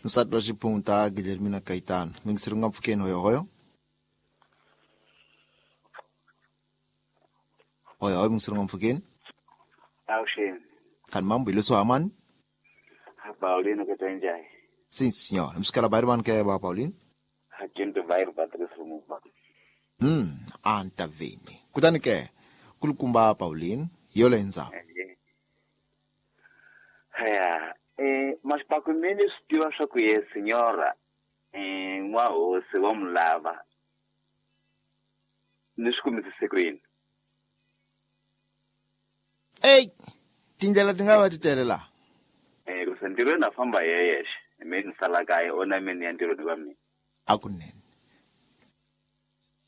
Nsati wa xiphunta Guilhermina Gaetano. Mingiseri nga mpfukeni hoyohoyo. Hoyohoyo mingiseri nga mpfukeni. Avuxeni. Khani mambo hi leswo hamani? Paulino ke twenjai. Sim, senhor. Msikala bairi van ke ba Paulino? Hakinto bairi Patrice Lumumba. Antaveni. Kutani ke kulukumba Pauline yola enza. Ya, mashipaku mini swi tiva swa ku ye senyora n'wahosi wa mulava ni swi kumisise kwini. Ey, tindlela ti nga va ti tele la. Ku se ntirhweni a famba hi yexe, mi ni sala kaya o na mina ya ntirhweni wa mina. Akunene.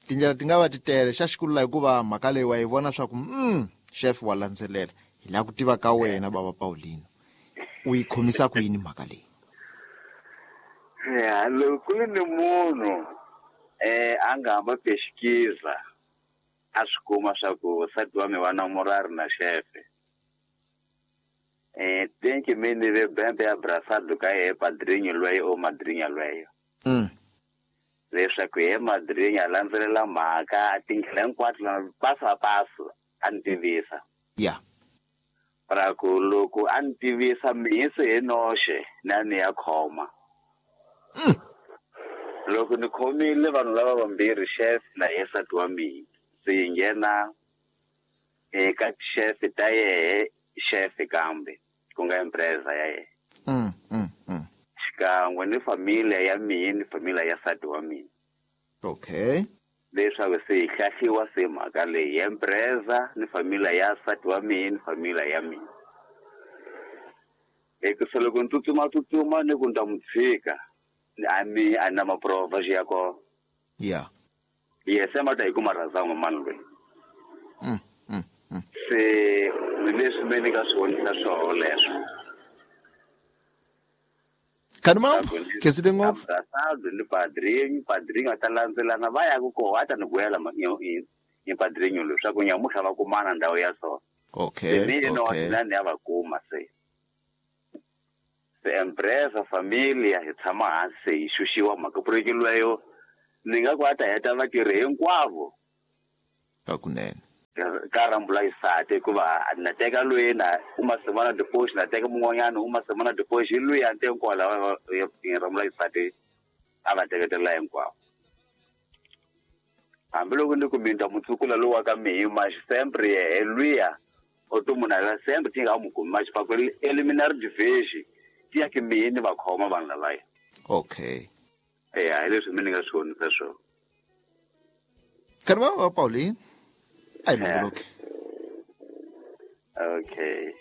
Tindlela ti nga va ti tele xa xikulula hikuva mhaka leyi wa yi vona swa ku chef wa landzelela. Hi lava ku tiva ka wena baba Paulino. U yi khomisa ku yini mhaka leyi? Ya, loko ku ri ni munhu a nga hamba pexikiza a swi kuma swa ku nsati wa mina wa namurari na xefe. Thank you mini ve bembe ya brasado ka ye padrinho lweyo o madrinha lweyo. Leswaku ye madrinha a landzelela mhaka tindlela hinkwato na paso a paso a ni tivisa. Ya. Ra ku loko a ni tivisa mihisi hi noxe na ni ya khoma. Loko ni khomile vanhu lava vambirhi chef na ye nsati wa mina se yi nghena eka chef ta yehe chef kambe ku nga empresa ya yena. Xikan'we ni familia ya mina ni familia ya nsati wa mina. Okay. Leswaku se hi hlahliwa se mhaka leyi empresa ni familia ya nsati wa mina ni familia ya mina. Hikusa loko ni tsutsuma tsutsuma ni ku ni ta n'wi tshika a mi a na maprova xi ya kona. Yeah. Yes, se ma ta hi kuma razango mani loyi. Se leswi me ni nga swi vonisa swoho leswo. Khani mambo, khensile ngopfu. Brasado ni padrinho, padrinho a ta landzelana va ya ku koho a ta ni vuyela ni padrinho loyi swa ku nyamutlha va kumana ndhawu ya so. Okay. Se ni no na ni ya va kuma se. Se empresa familia hi tshama hansi se hi xuxiwa mhaka projeki lweyo ni nga ku a ta heta vatirhi hinkwavo. Hakunene. Ka rambula isati hikuva na teka loyi na uma semana depois na teka mun'wanyana uma semana depois hi loyi a nte hinkwawo lava rambula isati a va teketela hinkwavo. Hambiloko ni ku minta mutsukula lowu wa ka mihi maxi sempre yehe luya o to munhu ala sempre ti nga mu kumi maxi paku eliminary division ti ya ki mihi ni va khoma vanhu lavaya. Okay. Ya hi leswi mi ni nga swi vonisa swona. Khani va Pauline a hi longoloki. Okay.